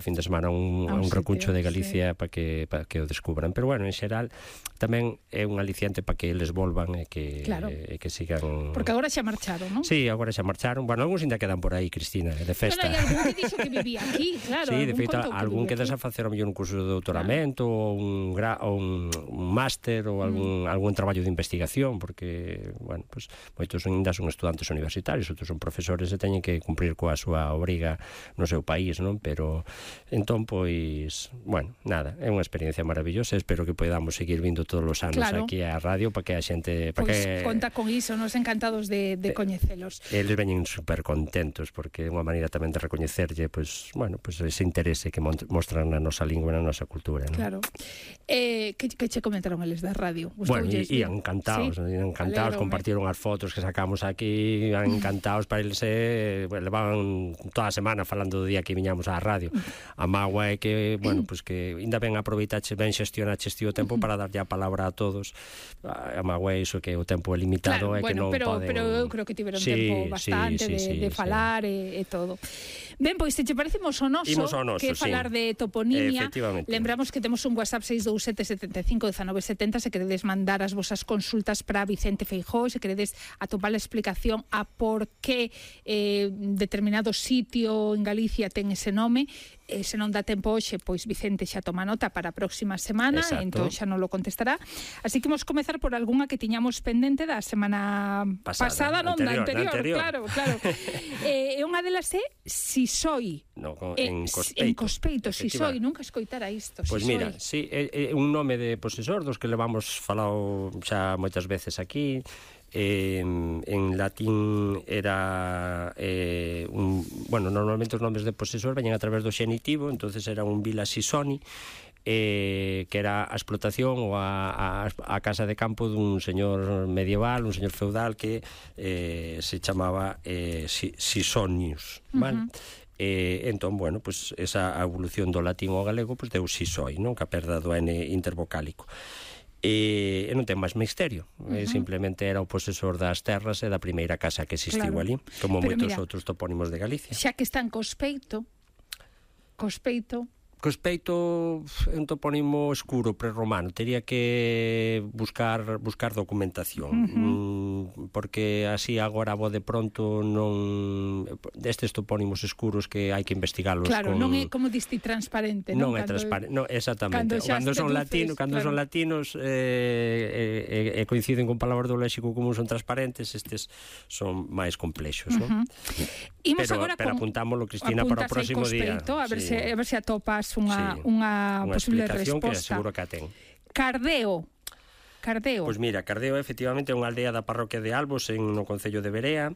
fin de semana un recuncho de Galicia para que o descubran, pero bueno, en xeral tamén é un aliciente para que eles volvan e que sigan, porque agora xa marcharon, non? Sí, agora xa marcharon. Bueno, algúns ainda quedan por aí, Cristina, de festa. Pero hai algún que dixo que vivía aquí, claro. Sí, de feito, algún que a facer o mellor un curso de doutoramento ou un máster ou algún traballo de investigación, porque, bueno, pues moitos ainda son estudantes universitarios, outros son profesores e teñen que cumprir coa súa obriga no seu país, non? Pero entón, pois, bueno, nada, é unha experiencia maravillosa, espero que podamos seguir vindo todos os anos aquí á radio para que a xente... Pois conta con iso, nos encantados de coñecelos. Eles veñen super contentos porque é unha maneira tamén de recoñecerlle, pois, bueno, pois ese interese que mostran na nosa lingua e na nosa cultura, non? Claro. Que che comentaron eles da radio? Bueno, ian encantados, compartiron as fotos que sacamos aquí, ian encantados, para eles levaban toda a semana falando do día que viñamos á radio. A mágoa é que, bueno, pois que ainda ben aproveitache, ben xestionaches ti o tempo para darlle a palabra a todos. A mágoa é iso, que o tempo é limitado, claro, que non poden... Pero eu creo que tiveron tempo bastante de falar e todo. Ben, pois, se che parecemos o noso, que falar de toponimia, lembramos que temos un WhatsApp 627751970 se queredes mandar as vosas consultas para Vicente Feijóo, se queredes atopar a explicación a por que determinado sitio en Galicia ten ese nome. Se non dá tempo hoxe, pois Vicente xa toma nota para a próxima semana. Exacto. Entón xa non lo contestará. Así que vamos comezar por algunha que tiñamos pendente da semana pasada, non, da anterior. Claro. E unha delas é Sisoi. No, en Cospeito, Sisoi, nunca escoitara isto. Pois mira, sí, é un nome de posesor dos que levamos falado xa moitas veces aquí. En latín era normalmente os nomes de posesor veñen a través do xenitivo, entonces era un vila Sisoni, que era a explotación ou a casa de campo dun señor medieval, un señor feudal que se chamaba Sisonius, vale? Entón, bueno, pues esa evolución do latín ao galego pues deu Sisoi, non? Que a perda do N intervocálico. E non ten máis misterio, simplemente era o posesor das terras e da primeira casa que existiu ali, como moitos outros topónimos de Galicia. Xa que está en Cospeito é un topónimo escuro prerromano, tería que buscar documentación, porque así agora a de pronto non, destes topónimos escuros que hai que investigalos. Claro, non é como diste transparente, non? Non é transparente, non, exactamente. Cando son latinos e coinciden con palabras do léxico común son transparentes, estes son máis complexos, non? Pero apuntámoslo, Cristina, para o próximo día. A ver se atopas unha posible resposta. Que seguro que a ten. Cardeo. Pois mira, Cardeo efectivamente é unha aldea da parroquia de Albos no concello de Verea,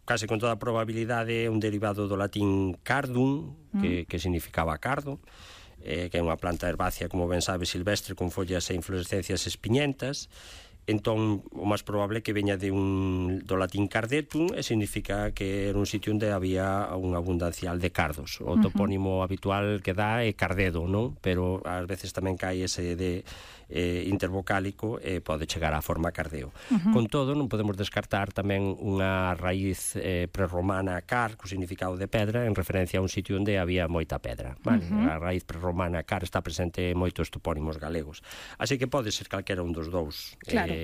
case con toda a probabilidade é un derivado do latín cardum, que significaba cardo, que é unha planta herbácea, como ben sabe, silvestre, con follas e inflorescencias espiñentas. Entón, o máis probable é que veña do latín cardetum, e significa que era un sitio onde había unha abundancial de cardos. O topónimo habitual que dá é Cardedo, non? Pero ás veces tamén cae ese de intervocálico e pode chegar á forma Cardeo. Con todo, non podemos descartar tamén unha raíz prerromana car, co significado de pedra, en referencia a un sitio onde había moita pedra. Vale? A raíz prerromana car está presente en moitos topónimos galegos. Así que pode ser calquera un dos dous. Claro.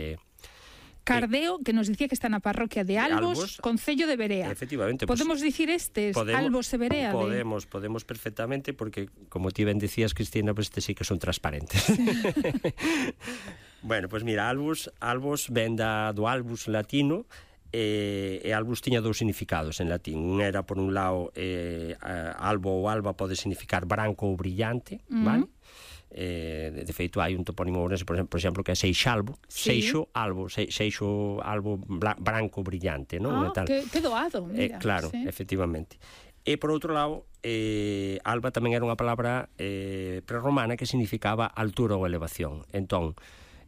Cardeo, que nos dicía que está na parroquia de Albos, concello de Verea. Efectivamente. Podemos dicir Albos e Verea? Podemos perfectamente, porque, como ti ben dicías, Cristina, pues este sí que son transparentes. Bueno, pues mira, Albos ven do albus latino, e albus tiña dous significados en latín. Un era, por un lado, albo ou alba pode significar branco ou brillante, vale? De feito hai un topónimo ourense, por exemplo, que é Seixalbo, Seixo albo branco brillante, non? Que doado, mira. Claro, efectivamente. E por outro lado, alba tamén era unha palabra prerromana que significaba altura ou elevación. Entón,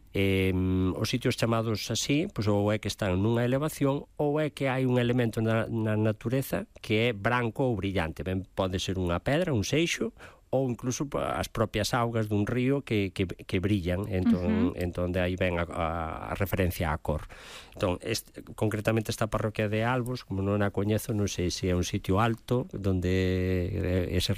os sitios chamados así, pois ou é que están nunha elevación ou é que hai un elemento na natureza que é branco ou brillante. Ben, pode ser unha pedra, un seixo, ou incluso as propias augas dun río que brillan, entón de aí ven a referencia á cor. Entón, concretamente esta parroquia de Albos, como non a coñezo, non sei se é un sitio alto, donde ese